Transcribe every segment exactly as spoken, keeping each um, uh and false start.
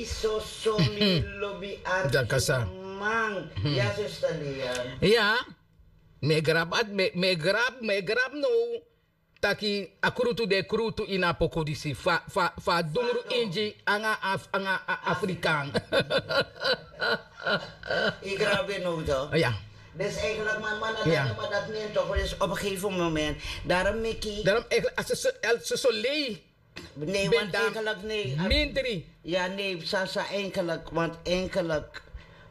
Soso mi lobi arki man. Ya, sesta Lian. Ya. Mi e grab at mi e grab mi e grab now. Taki a krutu de krutu ini a poku disi fa a dungru ingi anga a afrikan. Yu grabe now. Ya. Dus eigenlijk man man na dati man dati nen toch dus op een gegeven moment. Daarom meki. Daarom eigenlijk a soso lei. Nee want eigenlijk nee. Mindri. Ya nee sasa eigenlijk want eigenlijk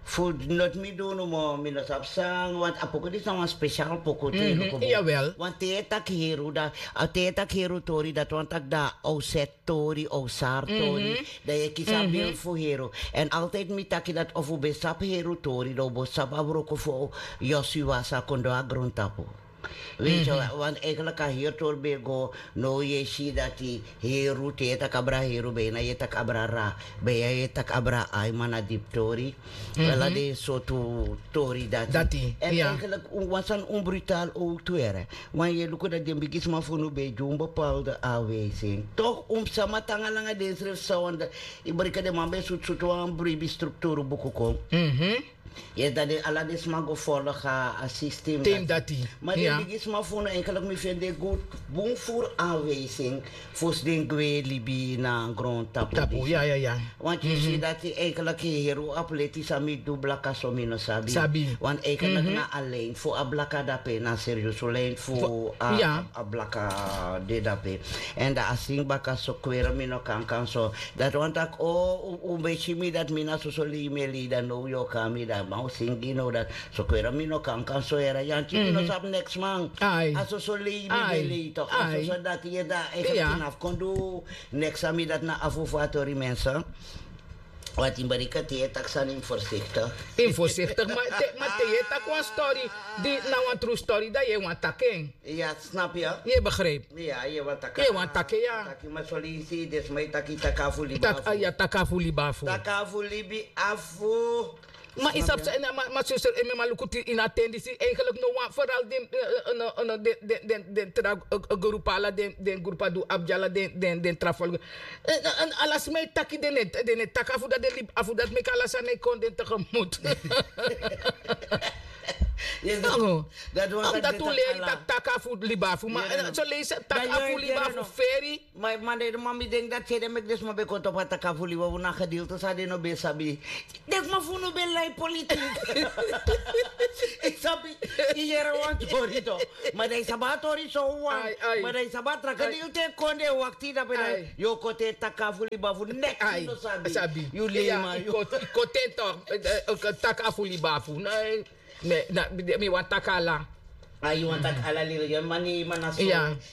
fu not mi dunu mo mi no sabi san want a poku disi na wan special poku tu. Jawel. Want te yu e taki heru dan te yu e taki heru tori dati wani taki dan a o set tori a o sari tori. Dan yu e kisi a bil fu heru. Èn altidi mi taki dati efu un ben sabi heru tori dan un bo sabi a wroko fu yosi wasa kon du a grontapu. Weet yu want eigenlijk a heertori ben e go. Now yu e si dati heru te yu e taki abra heru ben yu na yu e taki abra ra ben yu na yu e taki abra ai man na dipi tori. Wel a den sortu tori dati. Èn eigenlijk wan sani un brutal owtu here. Wan yu e luku dati den bigisma fu unu ben e gi un bepaalde anwijsing tok' un mus sama tanga langa densrefi san wan dati. Yu brika den man ben sutu sutu wan bribi strukturu buku kon. Yes dan den ala den sma go folga a sistem dati. Ma den bigisma fu unu enkeliki mi feni den gud bun furu anwijsing fosi den gwe libi na grontapu. Want yu si dati enkeliki heri un apleti san mi du blaka so mi no sabi. Want enkeliki na a lin fu a blaka dape na seriusu lin fu a blaka de dape. Èn dan a singi baka so kweri mi no kan kan so. Dati wani taki o un ben si mi dati mi na soso lei mi e lei dan now yu o kon na mi dan man o singi now dati. Sokweri mi no kan kan so yere yanti mi no sabi neks man. A soso lei mi ben lei toki a soso dati yere dan efu yu na fu kon du neks na mi dati na afu fu a tori mense. Wati yu bari kati yu e taki sani yu mus forsiktik. Yu mus forsiktik ma te yu e taki wan stori di na wan tru stori dan yu e wani taki en. Ya snapu ya. Yu e begripi? Ya yu e wani taki ya. Ma solisi den sma e taki taki afu libi afu. Taki afu libi afu. Ma yu sabi san en na ma suster en mi e man luku tin ini a ten disi eigenlik no wan feral den den tra grupu ala den grupu a du abi dyala den tra folugu. Ala sma e taki den e taki afu dati den libi afu dati meki ala sani e kon den tegemut. Dati un leri taki taki afu libi afu ma so leisi taki afu libi afu feri. Ma man den man mi denki dati sede meki den sma ben kon topu a taki afu libi afu na gedeelte san den no ben sabi. Den sma fu unu ben lai politik. Yu sabi yu yere wan tori to. Ma dan yu sabi a tori sowan. Ma dan yu sabi a tra gedeelte e kon den e wakti dape dan yu o kon te taki afu libi afu neks yu no sabi. Yu lei man yu. Kon ten tok taki afu libi afu. Mi wani taki ala. Yu wani taki ala liri yu man yu man na so.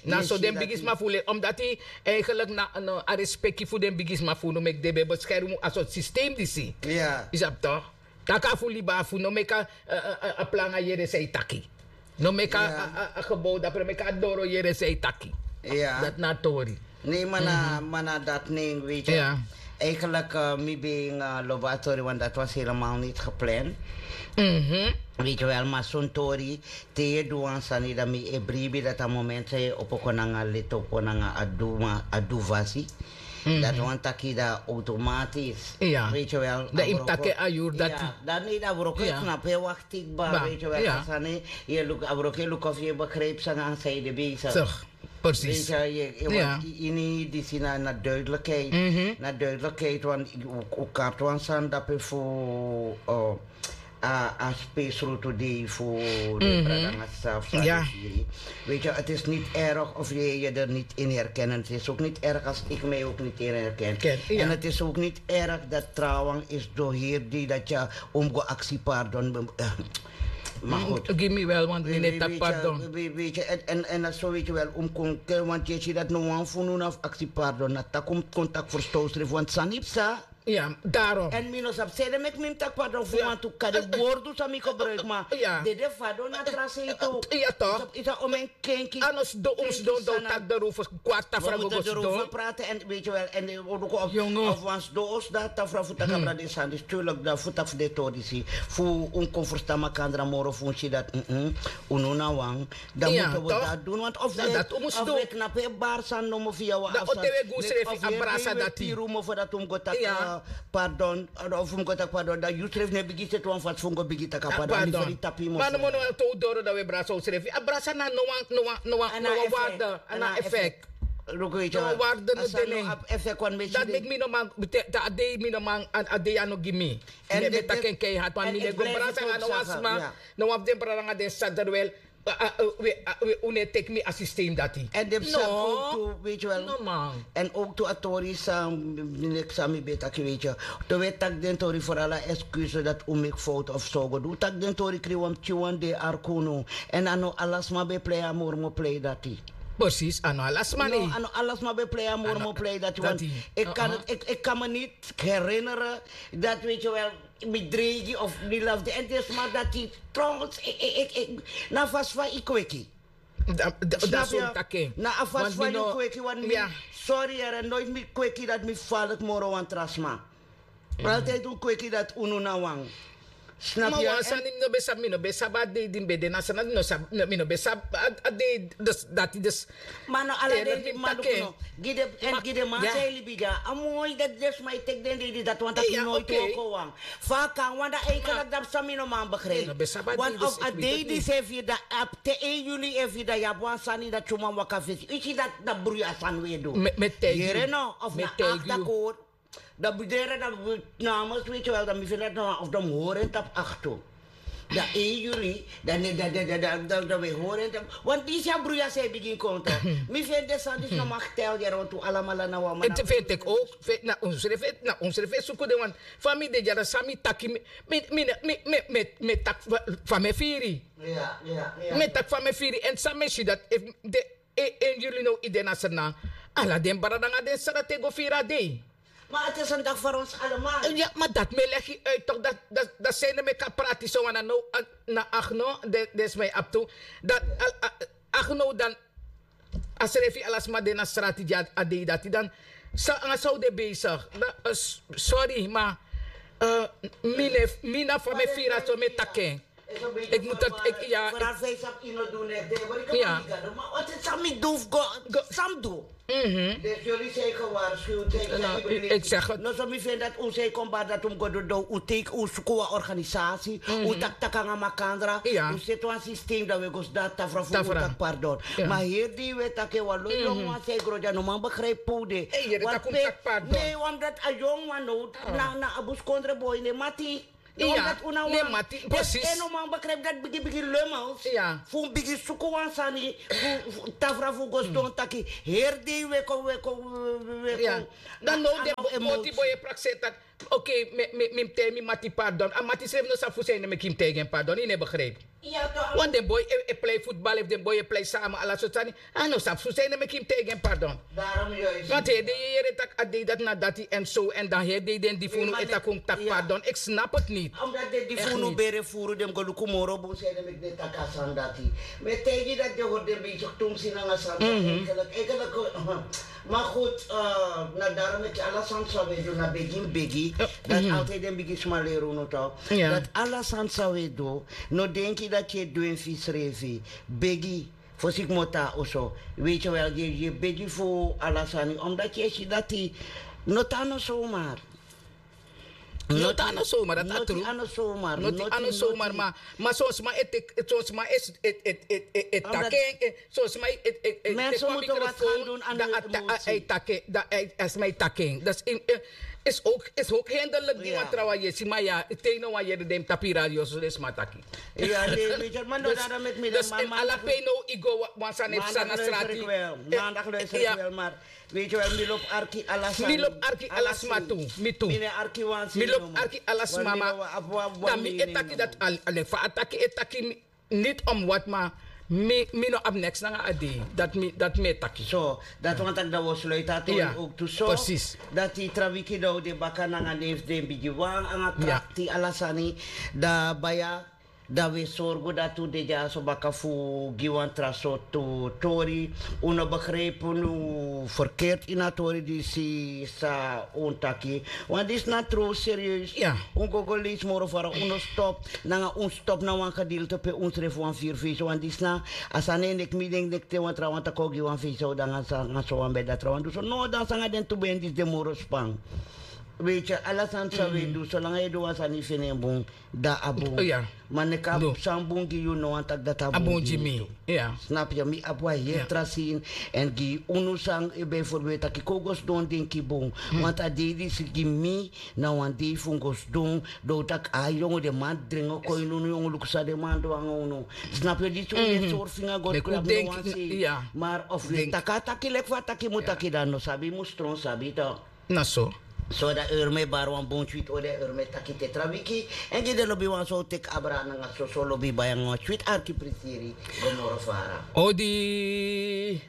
Na so den bigisma fu leri omdati eigenlik na a respeki fu den bigisma fu unu meki den ben beskermu a sortu sistem disi. Yu sabi tok? Taki afu libi afu no meki a plan a yere san yu taki. No meki a gebow dapre meki a doro yere san yu taki. Dati na a tori. Nee mana mana dati nen weet yu. Eigenlijk mi ben lobi a tori want dati was helemaal niti gepland. Weet yu wel ma son tori te yu e du wan sani dan mi e bribi dati a moment san yu e opo kon nanga leti opo nanga a du ma a du vasi. Dati wan taki dan automatisch. Weet yu wel dan yu mus taki en a yuru dati. Dan nee dan wroko e knapu e wakti kba weet yu wel a sani. Yu e luku a wroko e luku of yu e begripi sani an san yu de bezig. Precies. Ini disi na duidelijkheid. Na duidelijkheid want un kartu wan sani dape fu a spesrutu dei fu de brada nanga sisa fu sani. Weet yu het is niet erg of yu er niet in herkennen het is ook niet erg als ik mij ook niet in herken. En het is ook niet erg dat trawan is door hier die dat yu un mus go aksi pardon. Ma goed. Gi mi wel want mi no e taki pardon. Weet yu en en dat so weet yu wel un mus kon ken want yu e si dat no wan fu unu na fu aksi pardon na taki un mus kon taki ferstow srefi want sani psa. Ya darom. En mi no sabi sede meki mi mus taki pardon fu wantu kade wordu san mi gebruik ma dede fadon na tra sei tu. Ya tok. Yu sa omen kenki. A no sidon un sidon dan un taki dan rofu kwarta frago go sidon. Prate en weet yu wel en de oduko of wan sidon os dan tafra fu taki abra den sani disi tuurlijk dan fu taki fu den tori disi fu un kon ferstan makandra moro fu un si dati. Unu na wan dan mutu wi dati dun want of wi knapu e bari san nomo fu yawa dan o te wi e gu srefi a brasa dati. Piru mofo dati un mus go taki. Pardon, of fu mi go taki pardon, dan yu srefi no e bigin seti wan fasi fu mi go bigin taki a pardon. A yu srefi tapu yu moro. Ma no, no, no, te un doro dan un e brasa unsrefi. A brasa na no wan, no wan, no wan, no wan waarde, a na effect. No wan waarde, no de no abi effect wan mesi. Dati meki mi no man, te a dei mi no man, a dei a no gi mi. Mi e taki en keihard, want mi no e go brasa nanga no wan sma. No wan fu den brada nanga den saderwel. We, un no e teki mi a systeem dati. En den sabi ook tu, weet je wel. No man. En ook tu a tori san mi leki san mi ben taki, weet je. Te un e taki den tori, vooral a excuse dati un meki fout of so go du. Un taki den tori krin wan pikin wan dei arki unu. En a no ala sma ben plei a mormo plei dati. Precies, a no ala sma. No, a no ala sma ben plei a mormo plei dati. Want ik kan het, ik, ik kan me niet herinneren dat, weet je wel, mi dreigi of mi lafde en den sma dati trouwens, na a fasi fa yu kweki. Na a fasi fa yu kweki, want mi, sorry here, noiti mi kweki dati mi faliki moro wan tra sma. Altide un kweki dati unu na wan. Snap yu? Ma wan sani mi no ben sabi, mi no ben sabi a dei di mi ben de na Sranan, mi no ben sabi a dei dati. Dus ma no ala dei di mi man luku no. Gi den, èn gi den man san e libi dya. A moi dati den sma e teki den dei disi, dati wani taki noiti woko wan. Fa a kan, want dan eigenlijk dati san mi no man begrijp. Want of a dei disi e firi dan, a te één juli e firi dan yu abi wan sani dati yu man waka fesi. Yu si dati na bruya sani un e du. Yere no, of na akta kori. Dan bedere dan namens, weet je wel, dan mi feni dati na wan of dan mi hori en tapu aktu. Dan één juli, dan, dan, dan, dan, dan, dan we horen en tapu. Want disi a bruya san e bigin kon toch. Mi feni den sani disi no mag tel yere, want un alamala na wan man. Te feni teki ook, na unsrefi, na unsrefi e suku den wan. Fa mi de dya, san mi taki, mi, mi, mi, mi, mi, mi taki fa, fa mi e firi. Mi e taki fa mi e firi. Èn san mi e si dati efu den, en, en yulu no yu de na Sranan. Ala den brada nanga den sisa dati e go firi a dei. Ma a te santaki fu ons allemaal. Ya, ma dati mi e legi uit toch, dati, dati, dati san ede meki a prati so wan na now, na Agno, den, den sma e abi tu. Dati, al, a, Agno dan, a srefi ala sma de na strati dya a dei dati dan. San, nanga san un de bezig. Dan, eh, s-, sorry, ma, eh, mi no e, mi na fa mi e firi a so mi e taki en. Ik moet dat, ik, ja. Vooral zij sabi yu no du neti, maar ik kan niet gaan doen. Maar wat is, san mi du fu go, san mi du. Dus jullie zijn gewaarschuwd, zijn geïnformeerd. Ik zeg het. No, so mi feni dati un sei kon bari dati un go du, un teki, un suku wan organisasi, un taki, taki nanga makandra, un seti wan systeem, dan we go sidon na tafra fu un taki pardon. Ma heri dei we taki wan lo yongu wan san e gro dya no man begrijp pe un de. Wan pe, nee, omdat a yongu wan no, na, na a buskondre boy, ne mati. Omdat un na wan, dus en no man begrijp dati bigi, bigi lummels. Fu un bigin suku wan sani, fu, fu tafra fu go sidon taki, heri dei we kon, we kon, we kon. Dan now den bo-, moti boy e prakseri taki, oké, mi, mi, mi mus taigi mi mati pardon. A mati srefi no sabi fu san ede meki yu mus taigi en pardon, yu no e begrijp. Want den boy e, e plei futbal, efu den boy e plei sama, ala sortu sani. A no sabi fu san ede meki yu mus taigi en pardon. Want heri dei yu e yere taki a dei dati na dati en so, en dan heri dei den di fu unu e taki un mus taki pardon. Ik snap het niet. Omdat den di fu unu bere furu, den mus go luku moro bun san ede meki den taki a sani dati. Mi e taigi yu dati den hori den bezig tumsi nanga sani. Eigenlijk, eigenlijk, maar goed, eh, na daarom meki ala sani san we du na begi, begi. Dati altijd den bigisma leri unu toch. Dati ala sani san we du, no denki dati yu e du en fu yusrefi. Begi. Fosi yu komoto na oso, weet je wel, yu e, yu e begi fu ala sani, omdat yu e si dati no tan no zomaar. No tan no zomaar, dati a tru. No tan no zomaar, ma, ma son sma e teki, son sma e, e, e, e, e taki en, son sma e, e, e, mensen moeten wat gaan doen aan hun emotie. Dan a taki en, dan a sma e taki en. Dat is in, eh, is ook, is ook hinderlijk, die wan trawan yesi, ma ya, te yu no wan yere den tapu radio so den sma taki. Ya, nee, weet je, maar no, daarom meki mi dus en ala pe now yu go wan sani na strati. Maandag luister ik wel, maar weet je wel, mi lobi arki ala sma. Mi lobi arki ala sma tu, mi tu. Mi no e arki wan sma, mi lobi arki ala sma, ma dan mi e taki dati, al, al fa a taki e taki mi, niet om wat, ma mi, mi no abi niks nanga a dei. Dati mi, dati mi e taki. So, dati wani taki dan wi o sluiti a tori ook tu so. Precies. Dati tra wiki dan wi de baka nanga neef den bigi wan, nanga krakti, ala sani. Dan baya, dan wi e sorgu dati un de dyaso baka fu gi wan tra sortu tori. Un no begrijp unu verkeerd ini a tori disi san un taki. Want disi na tru serieus. Un go go leisi moro fara, un no stop. Nanga un stop na wan gedeelte pe unsrefi wani firi fesi. Want disi na a sani en, leki mi denki, leki te wan trawan taki un o gi wan fesi, dan nanga so wan bedi, a trawan du so. No, dan nanga den tu ben disi de moro span. Weet je, ala sani san we du, solanga e du wan sani fini en bun, dan a bun. Ma neka san bun gi yu no wan taki dati a bun gi mi. Snap je? Mi abi wan heri tra sin. En gi unu san bijvoorbeeld taki kon go sidon denki bun. Want a dei disi gi mi na wan dei fu go sidon. Don taki a yongu de man dringi kon ini unu yongu luku san de man du anga unu. Snap je? Disi unu e sori finga go de klap no wan sei. Maar of we taki a taki leki fa a taki mu taki dan no sabi mu stron sabi to. Na so. So dan eur mi e bari wan bun switi odi en eur mi e taki te tra wiki. En gi den lobi wan so teki abra nanga soso lobi bai nanga wan switi arki prisiri. Go moro fara. Odi.